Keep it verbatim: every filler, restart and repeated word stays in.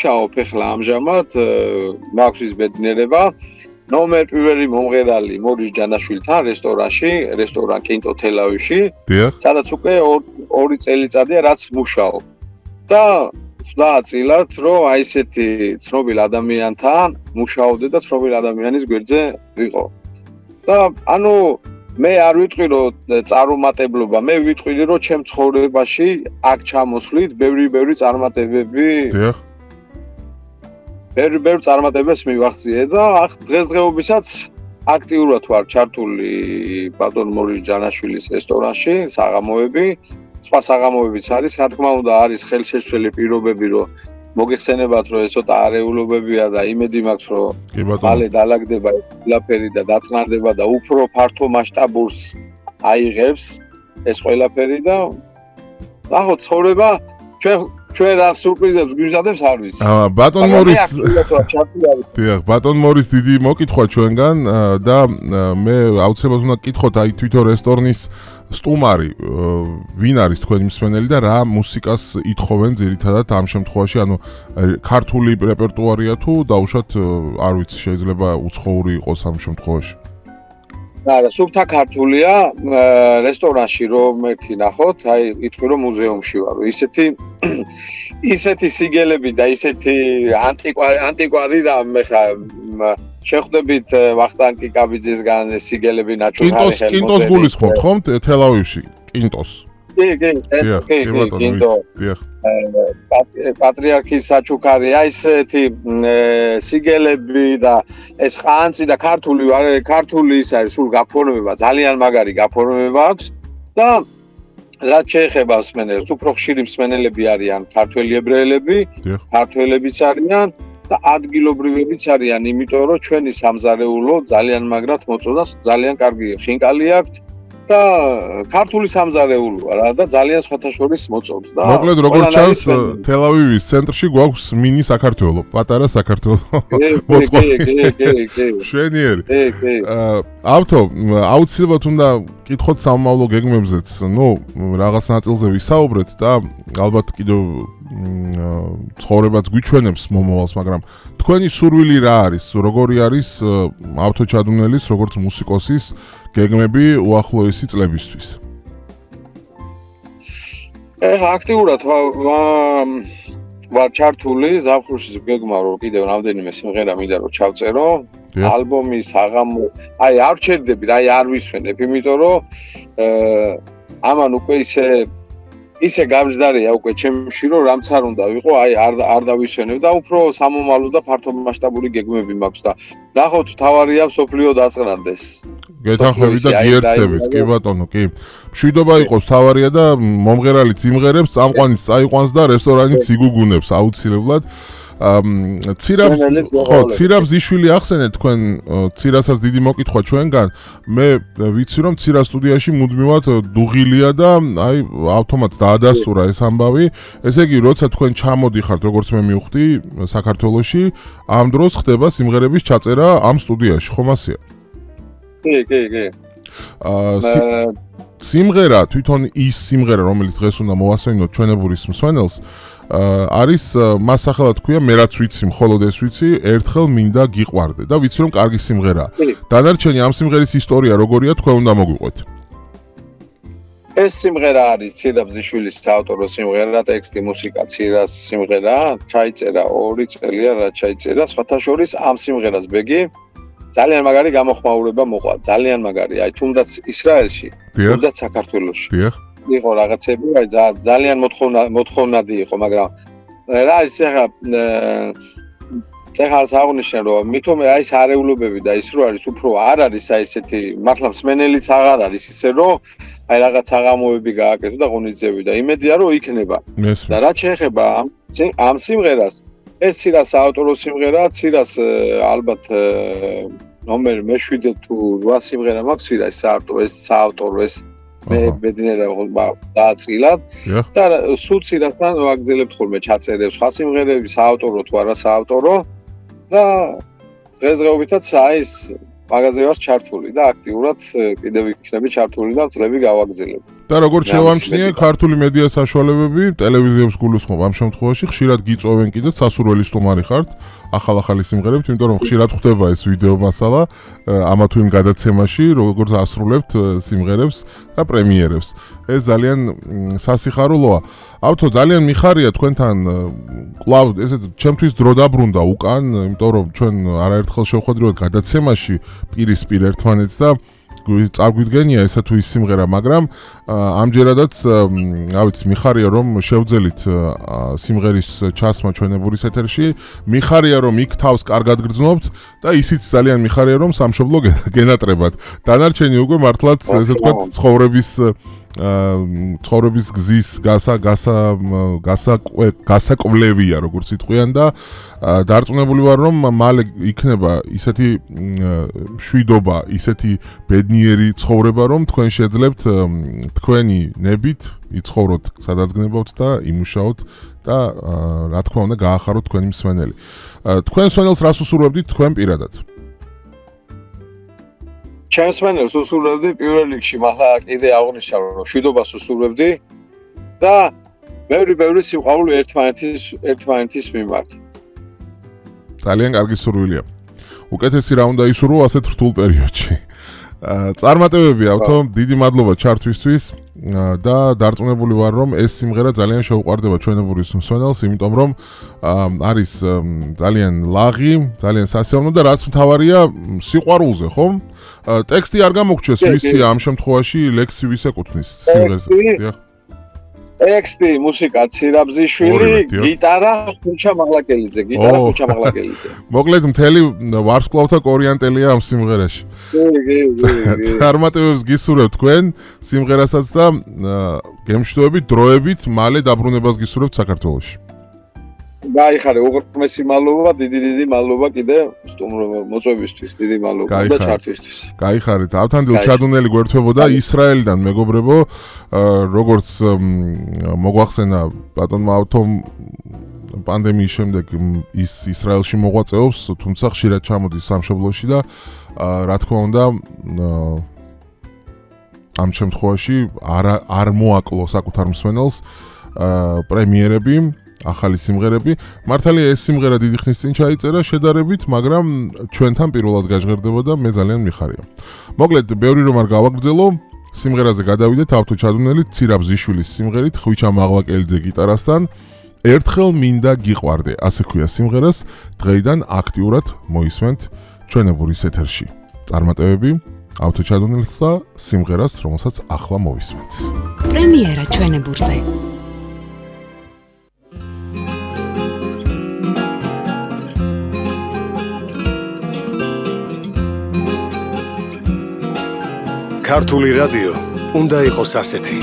ჩაოფ ეხლა ამჟამად მაქვს ის ბედნიერება ნომერ პირველი მომღერალი მორის ჯანაშვილთან რესტორანში, რესტორან კინტო თელავივში, სადაც უკვე ორი წელიწადია რაც მუშაობ. და ვდაწილად, რომ აი ესეთი ცნობილ ადამიანთან მუშაობდე და ცნობილ ადამიანის გვერდზე ვიყო. და ანუ მე არ ვიტყვი რომ წარუმატებლობა, მე ვიტყვი რომ ჩემ ცხოვრებაში აქ ჩამოსვლით ბევრი-ბევრი წარმატებები დიახ ბევრი-ბევრი წარმატებებს მივახციე და ახ დღესდღეობისაც აქტიურად ვარ ჩართული ბატონ მორის ჯანაშვილის რესტორანში, საღამოები, სხვა საღამოებიც არის, რა თქმა უნდა არის ხელშეცვლილი პირობები, რომ მოგეხსენებათ, რომ ეს ცოტა არეულობებია და იმედი მაქვს, რომ მალე დაალაგდება ყველაფერი და დაწნარდება და უფრო ფართო მასშტაბურს აიღებს ეს ყველაფერი და ახო ცხოვრება ჩვენ ჩვენ რა სურპრიზებს გვიზადებს არ ვიცი. აა ბატონ მორის დიახ, ბატონ მორის დიდი მოკითხვა ჩვენგან და მე აუცილებლად უნდა გკითხოთ აი თვითონ რესტორნის სტუმარი ვინ არის თქვენი მსმენელი და რა მუსიკას ითხოვენ ძირითადად ამ შემთხვევაში, ანუ ქართული რეპერტუარია თუ დაუშვათ არ ვიცი, შეიძლება უცხოური იყოს ამ შემთხვევაში. არა, სუფთა ქართულია რესტორანში რომ ერთი ნახოთ, აი იტყვი რომ მუზეუმში ვარ, ისეთი ისეთი სიგელები და ისეთი ანტიკვარი ანტიკვარი და მე ხა შეხვდებით ვახტანგ კიკაბიძისგან სიგელები ნაჩვენარი ხელმოწერილი. კინტოს გულისხმობთ ხომ თელავივში? კინტოს. კი, კი, კი, კინტო. პატრიარქის საჩუქარი, აი ესეთი სიგელები და ეს ხანძი და ქართული ქართული ის არის სულ გაფორმება, ძალიან მაგარი გაფორმება აქვს და რაც შეეხება მსმენელს, უფრო ხშირი მსმენელები არიან ქართველი ებრაელები, ქართველებიც არიან და ადგილობრივებიც არიან, იმიტომ რომ ჩვენი სამზარეულო ძალიან მაგრად მოწოდას, ძალიან კარგი ხინკალი აქვს და ქართული სამზარეულოა რა და ძალიან სხვათა შორის მოწობს და მოკლედ როგორც ჩანს თელავივის ცენტრში გვაქვს მინი საქართველო, პატარა საქართველო მოწყობილი. კი, კი, კი. შვენიერი. კი, კი. ავთო, აუცილებლად უნდა კითხოთ სამომავლო გეგმებზეც, ნუ რაღაც ნაწილზე ვისაუბრეთ და ალბათ კიდევ ცხოვრებაც გვიჩვენებს მომავალს, მაგრამ თქვენი სურვილი რა არის? როგორი არის ავთო ჩადუნელის, როგორც მუსიკოსის გეგმები უახლოესი წლებისთვის? ეხლა აქტიურად ვარ ჩართული ზაფხულში გეგმა რომ კიდევ რამდენიმე სიმღერა მინდა რომ ჩავწერო. ალბომი საღამო, აი არ ვჩერდები, აი არ ვისვენებ, იმიტომ რომ ამან უკვე ისე ისე გამჯდარია უკვე ჩემში რომ რამც არ უნდა ვიყო, აი არ არ დავისვენებ და უფრო სამომავლო და ფართო მასშტაბური გეგმები მაქვს და ნახოთ თავარია სოფლიო დაწყნარდეს. გეთანხმებით და გიერთებით, კი ბატონო, კი. მშვიდობა იყოს თავარია და მომღერალიც იმღერებს, წამყვანიც წაიყვანს და რესტორანიც იგუგუნებს აუცილებლად. ცირაბ ხო, ცირაბ ზიშვილი ახსენეთ თქვენ ცირასაც დიდი მოკითხვა ჩვენგან. მე ვიცი რომ ცირა სტუდიაში მუდმივად დუღილია და აი ავტომატს დაადასტურა ეს ამბავი. ესე იგი, როცა თქვენ ჩამოდიხართ, როგორც მე მივხვდი, საქართველოში, ამ დროს ხდება სიმღერების ჩაწერა ამ სტუდიაში, ხომ ასეა? კი, კი, კი. აა სიმღერა, თვითონ ის სიმღერა, რომელიც დღეს უნდა მოვასვენოთ ჩვენებურის მსმენელს, არის მას სახელად ქვია მე რაც ვიცი, მხოლოდ ეს ვიცი, ერთხელ მინდა გიყვარდე და ვიცი რომ კარგი სიმღერაა. დანარჩენი ამ სიმღერის ისტორია როგორია, თქვენ უნდა მოგვიყვეთ. ეს სიმღერა არის ცირა ბზიშვილის საავტორო სიმღერა, ტექსტი, მუსიკა ცირას სიმღერა, ჩაიწერა ორი წელია რა ჩაიწერა, სხვათა შორის ამ სიმღერას ბეგი ძალიან მაგარი გამოხმაურება მოყვა, ძალიან მაგარი. აი თუნდაც ისრაელში, თუნდაც საქართველოში. დიახ. იყო რაღაცები, აი ძალიან მოთხოვნადი იყო, მაგრამ რა არის ახლა წეხალს აღნიშნე რომ მithome აი ეს არეულობები და ის რო არის უფრო არ არის აი ესეთი მართლა მსმენელიც აღარ არის ისე რომ აი რაღაც აღამოები გააკეთო და ღონისძიებები და იმედია რომ იქნება. და რა შეეხება ამ სიმღერას, ეს ცირას ავტორო სიმღერა, ცირას ალბათ ნომერ მეშვიდე თუ რვა სიმღერა მაქვს ცირას საავტორო, ეს საავტორო ეს მე ბედნიერება დააწილად და სულ ცირასთან ვაგზელებთ ხოლმე ჩაწერებს სხვა სიმღერები, საავტორო თუ არა საავტორო და დღესდღეობითაც აი ეს მაგაზე ვარ ჩართული და აქტიურად კიდევ იქნები ჩართული და წლები გავაგრძელებ. და როგორც შევამჩნიე, ქართული მედია საშუალებები, ტელევიზიებს გულისხმობ ამ შემთხვევაში ხშირად გიწოვენ კიდე სასურველი სტუმარი ხართ ახალ-ახალი სიმღერებით, იმიტომ რომ ხშირად ხდება ეს ვიდეო მასალა ამა თუ იმ გადაცემაში, როგორც ასრულებთ სიმღერებს და პრემიერებს. ეს ძალიან სასიხარულოა. ავთო, ძალიან მიხარია თქვენთან კლავ ესეთ ჩემთვის დრო დაბრუნდა უკან, იმიტომ რომ ჩვენ არაერთხელ შევხვედრივად გადაცემაში პირისპირ ერთმანეთს და წაგვიდგენია ესა თუ ის სიმღერა, მაგრამ ამჯერადაც რა ვიცი, მიხარია რომ შევძელით სიმღერის ჩასმა ჩვენებურის ეთერში, მიხარია რომ იქ თავს კარგად გრძნობთ და ისიც ძალიან მიხარია რომ სამშობლო გენატრებათ. დანარჩენი უკვე მართლაც ესე ვთქვათ ცხოვრების ცხოვრების გზის გასა გასა გასა გასაკვლევია როგორც იტყვიან და დარწმუნებული ვარ რომ მალე იქნება ისეთი მშვიდობა, ისეთი ბედნიერი ცხოვრება რომ თქვენ შეძლებთ თქვენი ნებით იცხოვროთ სადაც გნებავთ და იმუშაოთ და რა თქმა უნდა გაახაროთ თქვენი მსმენელი. თქვენ მსმენელს რას უსურვებდით თქვენ პირადად? ჩემს მსმენელს უსურვებდი პირველ რიგში, მაგრამ კიდე აღნიშნა რომ მშვიდობას უსურვებდი და ბევრი ბევრი სიყვარული ერთმანეთის ერთმანეთის მიმართ. ძალიან კარგი სურვილია. უკეთესი რა უნდა ისურვო ასეთ რთულ პერიოდში. წარმატებები ავთო, დიდი მადლობა ჩართვისთვის და დარწმუნებული ვარ რომ ეს სიმღერა ძალიან შეუყვარდება ჩვენებურის მსმენელს, იმიტომ რომ არის ძალიან ლაღი, ძალიან სასიამოვნო და რაც მთავარია სიყვარულზე, ხომ? ტექსტი არ გამოგჩეს ვისი ამ შემთხვევაში ლექსი ვის ეკუთვნის სიმღერაზე? დიახ. ტექსტი, მუსიკა ცირაბზიშვილი, გიტარა ხუჩა მაღლაკელიძე, გიტარა ხუჩა მაღლაკელიძე. მოკლედ მთელი ვარსკვლავთა კორიანტელია ამ სიმღერაში. კი, კი, კი. წარმატებებს გისურვებთ თქვენ სიმღერასაც და გემშვიდობებით, დროებით მალე დაბრუნებას გისურვებთ საქართველოში. გაიხარე, უღრმესი მადლობა, დიდი დიდი მადლობა კიდე მოწვევისთვის, დიდი მადლობა და ჩართვისთვის. გაიხარეთ. ავთანდილ ჩადუნელი გვერდთვებოდა ისრაელიდან მეგობრებო, როგორც მოგვახსენა ბატონმა ავთომ პანდემიის შემდეგ ის ისრაელში მოღვაწეობს, თუმცა ხშირად ჩამოდის სამშობლოში და რა თქმა უნდა ამ შემთხვევაში არ არ მოაკლო საკუთარ მსმენელს პრემიერები, ახალი სიმღერები. მართალია ეს სიმღერა დიდი ხნის წინ ჩაიწერა შედარებით, მაგრამ ჩვენთან პირველად გაჟღერდება და მე ძალიან მიხარია. მოკლედ, ბევრი რომ არ გავაგრძელო, სიმღერაზე გადავიდეთ ავთო ჩადუნელი ცირაბზიშვილის სიმღერით ხვიჩა მაღლაკელიძე გიტარასთან. ერთხელ მინდა გიყვარდე, ასე ქვია სიმღერას, დღეიდან აქტიურად მოისმენთ ჩვენებურის ეთერში. წარმატებები ავთო ჩადუნელს და სიმღერას, რომელსაც ახლა მოვისმენთ. პრემიერა ჩვენებურზე. ქართული რადიო უნდა იყოს ასეთი.